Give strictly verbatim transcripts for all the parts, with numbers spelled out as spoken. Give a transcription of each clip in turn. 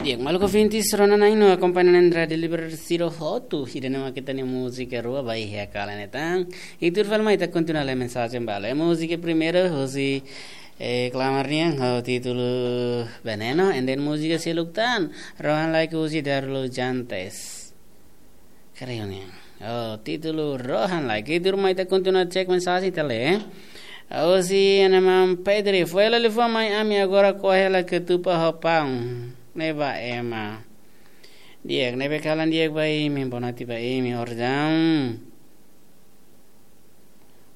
Di'ak, maluk ouvintes, rona na'in no akompaña na'in rádiu Líbere sira hotu, ida-ne'e mak ita-nia múzika rua ba iha kala ne'e tan. I tuir fali mai ita kontinua lee mensajen balu. Múzika primeiru husi, eh, Klamar nian ho títulu Veneno, and then múzika seluk tan, Rohan Like husi Darlu Jantes. Kreiu nian. Oh, títulu Rohan Like. I tuir mai ita kontinua cek mensajen ita lee. Husi ema Pedri, foin hela liafuan mai ami agora ko'a hela katupa ho paun. Ne'e ba ema. Di'ak, ne'ebé kalan di'ak ba imi, bonatif ba imi, oras daudaun.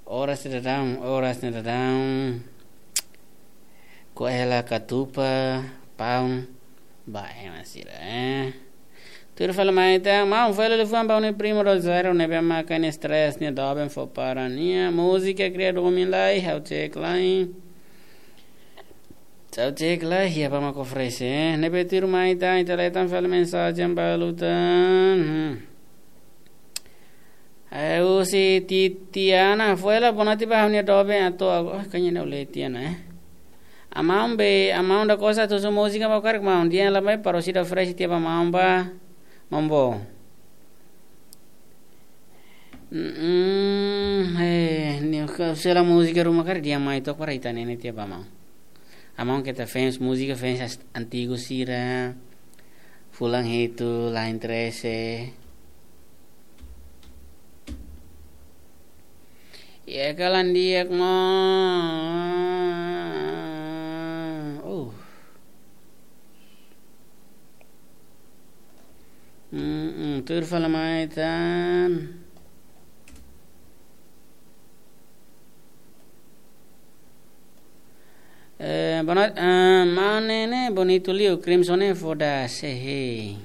Oras daudaun, oras daudaun. Ko'a hela katupa, paun, ba ema sira, eh. Tuir fali mai ita, maun, foin hela liafuan ba ha'u-nia primu Rosário, ne'ebé maka nia stress, nia doben fó para nia. Múzika kria domin lai, ha'u cek lai. Ha'u cek lai, iha ba mak oferese, eh. Ne'ebé tuir mai ita, ita lee tan fali mensajen balu tan. Hmm. Eh, husi Titiana, foin hela, bonatif ba ha'u-nia doben atu agu-, oh, kanya nau le Tiana, eh. Amaun be, amaun da kosa tu su múzika ba karik maun, dia la mai para sida oferese tiha ba maun ba, mambo. Mm, eh, ni ka sela múzika ruma karik dia mai tok para ita-nia ne'e tiha ba maun. Amaun keta fans múzika, fans as-, antigu sira. Fulan hitu, lain trese. Ya, kalan di'ak mo. Oh. Mm, mm, tuir fali mai tan. Eh, bona-, eh, maun ne'e, ne'e, bonitu liu, Crimson ne'e foda, sei.